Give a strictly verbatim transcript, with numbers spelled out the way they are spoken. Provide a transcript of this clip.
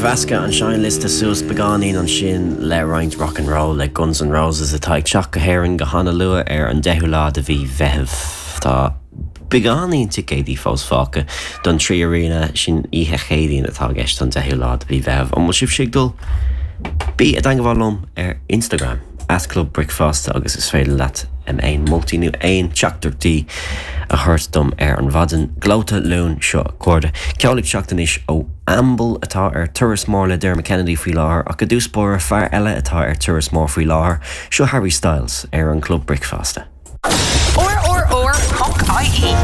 Mheascadh an seinnliosta suas beagáinín ansin le roinnt rock and roll le Guns N' Roses atá ag teacht go hÉirinn go han-luath ar an deichiú lá de mhí Mheithimh. Tá beagáinín ticéidí fós fágtha don Three Arena sin oíche Chéadaoin atá i gceist an deichiú lá de mhí Mheithimh. An bhfuil sibh ag dul? Bí i dteagmháil liom ar Instagram at Club Bricfeasta agus is féidir leat aon moltaí nó aon teachtaireachtaí a thabhairt dom ar an mhaidin gleoite Luain seo cairde. Ceol ag teacht anois ó Amble atá ar turas mór le Dermot Kennedy faoi láthair ach i dtús báire fear eile atá ar turas mór faoi láthair seo Harry Styles ar an Club Bricfeasta. RRR.ie.